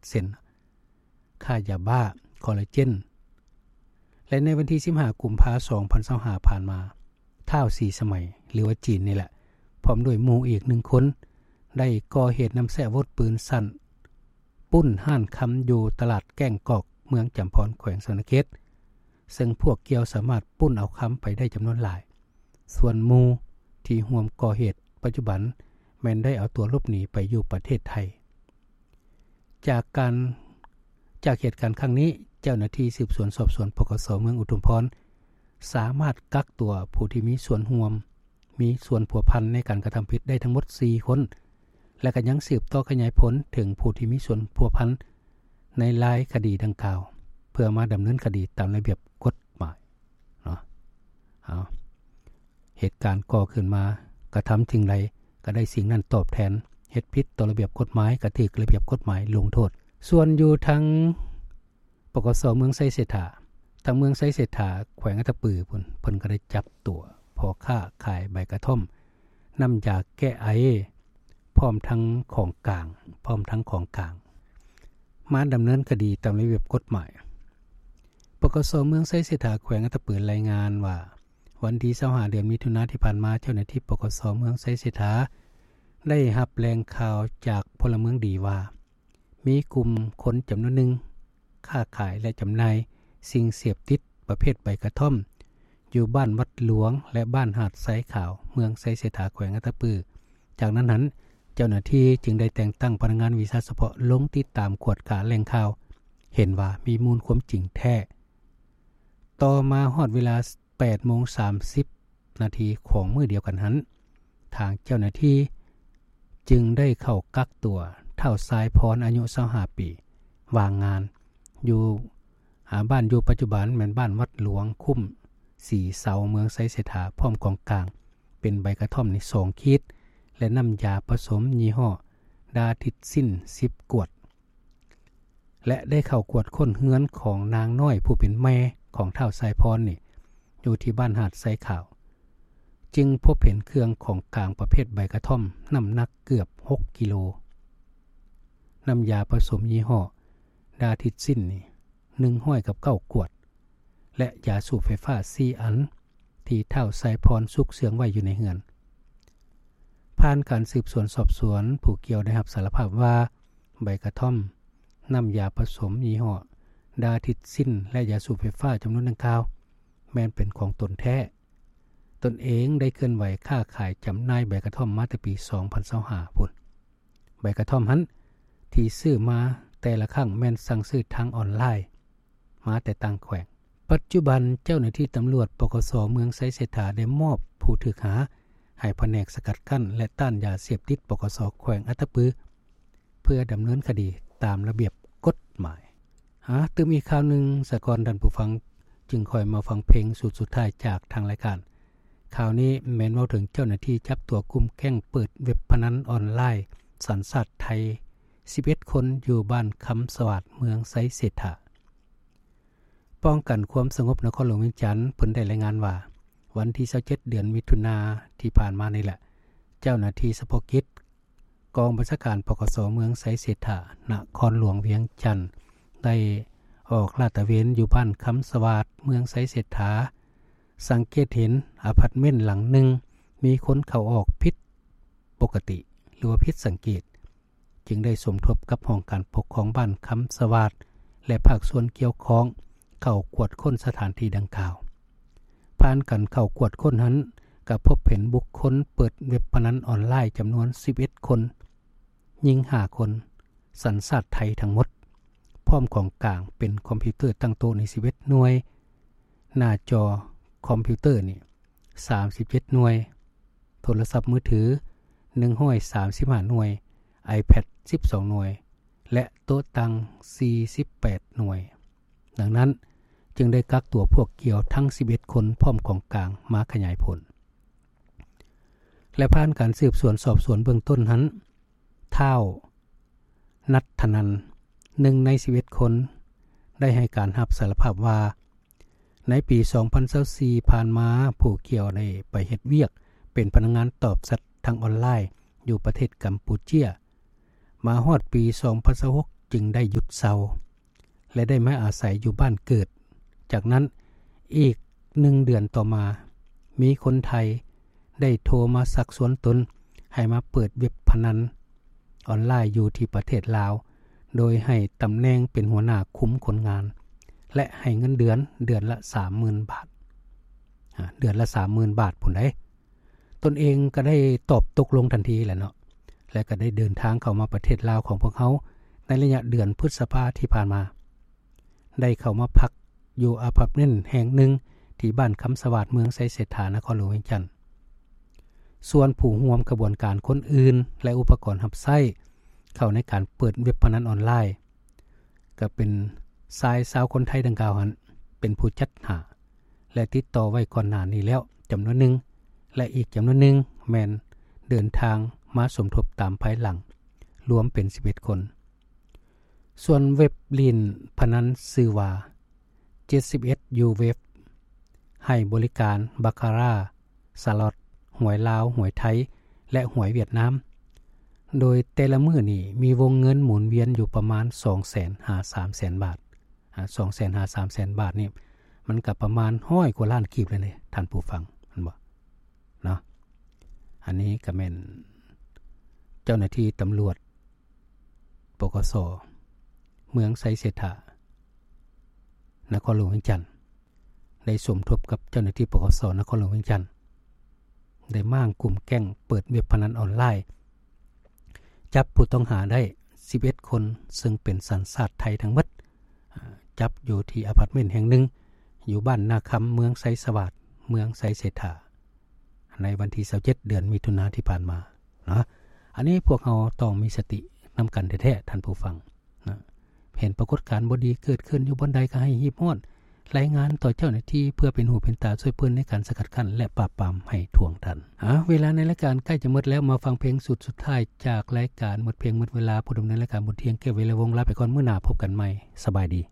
ເຊັ່ນ ຄ້າຢາບ້າ, ຄໍລາເຈນ. ແລະ ໃນວັນທີສິບຫ້າ ກຸມພາ ສອງພັນຊາວຫ້າ ຜ່ານມາ, ທ້າວສີສະໄໝ ຫຼືວ່າຈີນນີ້ແຫຼະ ພ້ອມດ້ວຍໝູ່ອີກໜຶ່ງຄົນ ໄດ້ກໍ່ເຫດນຳໃຊ້ອາວຸດປືນສັ້ນ ປຸ້ນຮ້ານຄຳຢູ່ຕະຫຼາດແກ້ງກອກ ເມືອງຈຳພອນ ແຂວງສະຫວັນນະເຂດ, ເຊິ່ງພວກກ່ຽວສາມາດປຸ້ນເອົາຄຳໄປໄດ້ຈຳນວນຫຼາຍ. ສ່ວນໝູ່ທີ່ຮ່ວມກໍ່ເຫດປັດຈຸບັນແມ່ນໄດ້ເອົາຕົວຫຼົບໜີໄປຢູ່ປະເທດໄທ. ຈາກການ, ຈາກເຫດການຄັ້ງນີ້, ເຈົ້າໜ້າທີ່ສືບສວນສອບສວນ ປກສ ເມືອງອຸທຸມພອນ ສາມາດກັກຕົວຜູ້ທີ່ມີສ່ວນຮ່ວມ, ມີສ່ວນພົວພັນໃນການກະທຳຜິດໄດ້ທັງໝົດສີ່ຄົນ ແລະ ກໍຍັງສືບຕໍ່ຂະຫຍາຍຜົນເຖິງຜູ້ທີ່ມີສ່ວນພົວພັນໃນລາຍຄະດີດັ່ງກ່າວ ເພື່ອມາດຳເນີນຄະດີຕາມລະບຽບກົດໝາຍເນາະ. ເອົາ ເຫດການກໍ່ຂຶ້ນມາ ກະທຳສິ່ງໃດກໍໄດ້ສິ່ງນັ້ນຕອບແທນ, ເຮັດຜິດຕໍ່ລະບຽບກົດໝາຍກໍຖືກລະບຽບກົດໝາຍລົງໂທດ. ສ່ວນຢູ່ທາງ ປກສ ເມືອງໄຊເສດຖາ, ທາງເມືອງໄຊເສດຖາ ແຂວງອັດຕະປືພຸ້ນ, ເພິ່ນກໍໄດ້ຈັບຕົວພໍ່ຄ້າຂາຍໃບກະທ່ອມ, ນ້ຳຢາແກ້ໄອ ພ້ອມທັງຂອງກາງ, ພ້ອມທັງຂອງກາງ ມາດຳເນີນຄະດີຕາມລະບຽບກົດໝາຍ. ປກສ ເມືອງໄຊເສດຖາ ແຂວງອັດຕະປື ລາຍງານວ່າ ວັນທີຊາວຫ້າ ເດືອນມິຖຸນາທີ່ຜ່ານມາ, ເຈົ້າໜ້າທີ່ ປກສ ເມືອງໄຊເສດຖາ ໄດ້ຮັບແຫຼ່ງຂ່າວຈາກພົນລະເມືອງດີວ່າ ມີກຸ່ມຄົນຈຳນວນໜຶ່ງ ຄ້າຂາຍ ແລະ ຈຳໜ່າຍສິ່ງເສບຕິດປະເພດໃບກະທ່ອມ ຢູ່ບ້ານວັດຫຼວງ ແລະ ບ້ານຫາດຊາຍຂາວ ເມືອງໄຊເສດຖາ ແຂວງອັດຕະປື. ຈາກນັ້ນຫັ້ນ, ເຈົ້າໜ້າທີ່ຈຶ່ງໄດ້ແຕ່ງຕັ້ງພະນັກງານວິຊາສະເພາະລົງຕິດຕາມກວດກາແຫຼ່ງຂ່າວ, ເຫັນວ່າມີມູນຄວາມຈິງແທ້. ຕໍ່ມາຮອດເວລາ ແປດໂມງສາມສິບນາທີຂອງມື້ດຽວກັນຫັ້ນ, ທາງເຈົ້າໜ້າທີ່ຈຶ່ງໄດ້ເຂົ້າກັກຕົວທ້າວຊາຍພອນ ອາຍຸຊາວຫ້າປີ ວ່າງງານ ຢູ່ ອາ ບ້ານຢູ່ປັດຈຸບັນແມ່ນບ້ານວັດຫຼວງ, ຄຸ້ມສີເສົາ ເມືອງໄຊເສດຖາ ພ້ອມຂອງກາງເປັນໃບກະທ່ອມນີ້ສອງຂີດ ແລະ ນ້ຳຢາປະສົມຍີ່ຫໍ້ດາທິດຊິນສິບກວດ. ແລະ ໄດ້ເຂົ້າກວດຄົ້ນເຮືອນຂອງນາງນ້ອຍຜູ້ເປັນແມ່ຂອງທ້າວຊາຍພອນນີ້ ຢູ່ທີ່ບ້ານຫາດຊາຍຂາວ, ຈຶ່ງພົບເຫັນເຄື່ອງຂອງກາງປະເພດໃບກະທ່ອມ ນ້ຳໜັກເກືອບຫົກກິໂລ, ນ້ຳຢາປະສົມຍີ່ຫໍ້ດາທິດຊິນນີ້ ໜຶ່ງຮ້ອຍກັບເກົ້າກວດ ແລະ ຢາສູບໄຟຟ້າສີ່ອັນ ທີ່ທ້າວຊາຍພອນຊຸກເຊື່ອງໄວ້ຢູ່ໃນເຮືອນ. ຜ່ານການສືບສວນສອບສວນ, ຜູ້ກ່ຽວໄດ້ຮັບສາລະພາບວ່າ ໃບກະທ່ອມ, ນ້ຳຢາປະສົມຍີ່ຫໍ້ດາທິດຊິນ ແລະ ຢາສູບໄຟຟ້າຈຳນວນດັ່ງກ່າວ ແມ່ນເປັນຂອງຕົນແທ້. ຕົນເອງໄດ້ເຄື່ອນໄຫວຄ້າຂາຍຈຳໜ່າຍໃບກະທ່ອມມາແຕ່ປີສອງພັນຊາວຫ້າພຸ້ນ. ໃບກະທ່ອມຫັ້ນ ທີ່ຊື້ມາແຕ່ລະຄັ້ງແມ່ນສັ່ງຊື້ທາງອອນລາຍ ມາແຕ່ຕ່າງແຂວງ. ປັດຈຸບັນເຈົ້າໜ້າທີ່ຕຳຫຼວດ ປກສ ເມືອງໄຊເສດຖາ ໄດ້ມອບຜູ້ຖືກຫາໃຫ້ພະແນກສະກັດກັ້ນ ແລະ ຕ້ານຢາເສບຕິດ ປກສ ແຂວງອັດຕະປື ເພື່ອດຳເນີນຄະດີຕາມລະບຽບກົດໝາຍ. ຫາຕື່ມອີກຂ່າວໜຶ່ງສາກ່ອນທ່ານຜູ້ຟັງ ຈຶ່ງຄ່ອຍມາຟັງເພງຊຸດສຸດທ້າຍຈາກທາງລາຍການ. ຂ່າວນີ້ແມ່ນເວົ້າເຖິງເຈົ້າໜ້າທີ່ຈັບຕົວກຸ່ມແກ້ງເປີດເວັບພະນັນອອນລາຍສັນຊາດໄທ ສິບເອັດຄົນ ຢູ່ບ້ານຄຳສະຫວາດ ເມືອງໄຊເສດຖາ. ປ້ອງກັນຄວາມສະຫງົບນະຄອນຫຼວງວຽງຈັນ ເພິ່ນໄດ້ລາຍງານວ່າ ວັນທີຊາວເຈັດ ເດືອນມິຖຸນາທີ່ຜ່ານມານີ້ແຫຼະ, ເຈົ້າໜ້າທີ່ສະເພາະກິດ ກອງບັນຊາການ ປກສ ເມືອງໄຊເສດຖາ ນະຄອນຫຼວງວຽງຈັນ ໄດ້ອອກລາດຕະເວນຢູ່ບ້ານຄຳສະຫວາດ ເມືອງໄຊເສດຖາ, ສັງເກດເຫັນອາພາດເມັນຫຼັງໜຶ່ງ ມີຄົນເຂົ້າອອກຜິດປົກກະຕິ ຫຼືວ່າຜິດສັງເກດ, ຈຶ່ງໄດ້ສົມທົບກັບຫ້ອງການປົກຄອງບ້ານຄຳສະຫວາດ ແລະ ພາກສ່ວນກ່ຽວຂ້ອງ ເຂົ້າກວດຄົ້ນສະຖານທີ່ດັ່ງກ່າວ. ຜ່ານການເຂົ້າກວດຄົ້ນຫັ້ນ ກໍພົບເຫັນບຸກຄົນເປີດເວັບພະນັນອອນລາຍຈຳນວນສິບເອັດຄົນ, ຍິງຫ້າຄົນ, ສັນຊາດໄທທັງໝົດ, ພ້ອມຂອງກາງເປັນຄອມພິວເຕີຕັ້ງໂຕະນີ້ສິບເອັດໜ່ວຍ, ໜ້າຈໍຄອມພິວເຕີນີ້ສາມສິບເຈັດໜ່ວຍ, ໂທລະສັບມືຖືໜຶ່ງຮ້ອຍສາມສິບຫ້າໜ່ວຍ, ໄອແພດສິບສອງໜ່ວຍ ແລະ ໂຕະຕັ່ງສີ່ສິບແປດໜ່ວຍ. ດັ່ງນັ້ນ, ຈຶ່ງໄດ້ກັກຕົວພວກກ່ຽວທັງສິບເອັດຄົນ ພ້ອມຂອງກາງມາຂະຫຍາຍຜົນ. ແລະ ຜ່ານການສືບສວນສອບສວນເບື້ອງຕົ້ນຫັ້ນ, ທ້າວ ນັດທະນັນ, ໜຶ່ງໃນສິບເອັດຄົນ, ໄດ້ໃຫ້ການຮັບສາລະພາບວ່າ ໃນປີສອງພັນຊາວສີ່ຜ່ານມາ, ຜູ້ກ່ຽວໄດ້ໄປເຮັດວຽກເປັນພະນັກງານຕອບແຊັດທາງອອນລາຍຢູ່ປະເທດກຳປູເຈຍ. ມາຮອດປີສອງພັນຊາວຫົກ ຈຶ່ງໄດ້ຢຸດເຊົາ ແລະ ໄດ້ມາອາໄສຢູ່ບ້ານເກີດ. ຈາກນັ້ນອີກໜຶ່ງເດືອນຕໍ່ມາ, ມີຄົນໄທໄດ້ໂທມາຊັກຊວນຕົນໃຫ້ມາເປີດເວັບພະນັນອອນລາຍຢູ່ທີ່ປະເທດລາວ, ໂດຍໃຫ້ຕຳແໜ່ງເປັນຫົວໜ້າຄຸມຄົນງານ ແລະ ໃຫ້ເງິນເດືອນເດືອນລະສາມໝື່ນບາດ, ອາ ເດືອນລະສາມໝື່ນບາດພຸ້ນໃດ໋. ຕົນເອງກໍໄດ້ຕອບຕົກລົງທັນທີແຫຼະເນາະ ແລະ ກໍໄດ້ເດີນທາງເຂົ້າມາປະເທດລາວຂອງພວກເຮົາໃນໄລຍະເດືອນພຶດສະພາທີ່ຜ່ານມາ, ໄດ້ເຂົ້າມາພັກຢູ່ອາພາດເມັນແຫ່ງໜຶ່ງທີ່ບ້ານຄຳສະຫວາດ ເມືອງໄຊເສດຖາ ນະຄອນຫຼວງວຽງຈັນ. ສ່ວນຜູ້ຮ່ວມຂະບວນການຄົນອື່ນ ແລະ ອຸປະກອນຮັບໃຊ້ເຂົ້າໃນການເປີດເວັບພະນັນອອນລາຍ ກໍເປັນຊາຍຊາວຄົນໄທດັ່ງກ່າວຫັ້ນເປັນຜູ້ຈັດຫາ ແລະ ຕິດຕໍ່ໄວ້ກ່ອນໜ້ານີ້ແລ້ວຈຳນວນໜຶ່ງ ແລະ ອີກຈຳນວນໜຶ່ງແມ່ນເດີນທາງມາສົມທົບຕາມພາຍຫຼັງ, ລວມເປັນສິບເອັດຄົນ. ສ່ວນເວັບຫຼິ້ນພະນັນຊື່ວ່າ ເຈັດສິບເອັດ ຢູເວັບ ໃຫ້ບໍລິການບາຄາຣາ, ສະລັອດ, ຫວຍລາວ, ຫວຍໄທ ແລະ ຫວຍຫວຽດນາມ, ໂດຍແຕ່ລະມື້ນີ້ມີວົງເງິນໝູນວຽນຢູ່ປະມານສອງແສນຫາສາມແສນບາດ. ອາ ສອງແສນຫາສາມແສນບາດນີ້ ມັນກໍປະມານຮ້ອຍກວ່າລ້ານກີບແລ້ວເດ້ທ່ານຜູ້ຟັງ ແມ່ນບໍ່ເນາະ? ອັນນີ້ກໍແມ່ນເຈົ້າໜ້າທີ່ຕຳຫຼວດ ປກສ ເມືອງໄຊເສດຖາ ນະຄອນຫຼວງວຽງຈັນ ໄດ້ສົມທົບກັບເຈົ້າໜ້າທີ່ ປກສ ນະຄອນຫຼວງວຽງຈັນ ໄດ້ມ້າງກຸ່ມແກ້ງເປີດເວັບພະນັນອອນລາຍ, ຈັບຜູ້ຕ້ອງຫາໄດ້ສິບເອັດຄົນ ເຊິ່ງເປັນສັນຊາດໄທທັງໝົດ, ຈັບຢູ່ທີ່ອາພາດເມັນແຫ່ງໜຶ່ງ ຢູ່ບ້ານນາຄຳ ເມືອງໄຊສະຫວາດ ເມືອງໄຊເສດຖາ ໃນວັນທີຊາວເຈັດ ເດືອນມິຖຸນາທີ່ຜ່ານມາເນາະ. ອັນນີ້ພວກເຮົາຕ້ອງມີສະຕິນຳກັນແທ້ໆ ທ່ານຜູ້ຟັງນະ. ເຫັນປາກົດການບໍ່ດີເກີດຂຶ້ນຢູ່ບ່ອນໃດກໍໃຫ້ຮີບຮ້ອນລາຍງານຕໍ່ເຈົ້າໜ້າທີ່ ເພື່ອເປັນຫູເປັນຕາຊ່ວຍເພິ່ນໃນການສະກັດກັ້ນ ແລະ ປາບປາມໃຫ້ທ່ວງທັນ. ເອົາ ເວລາໃນລາຍການໃກ້ຈະໝົດແລ້ວ, ມາຟັງເພງຊຸດສຸດທ້າຍຈາກລາຍການໝົດເພງໝົດເວລາ. ຜູ້ດຳເນີນລາຍການ ບຸນທ່ຽງ ແກ້ວວິໄລວົງ ລາໄປກ່ອນ, ມື້ໜ້າພົບກັນໃໝ່. ສະບາຍດີ.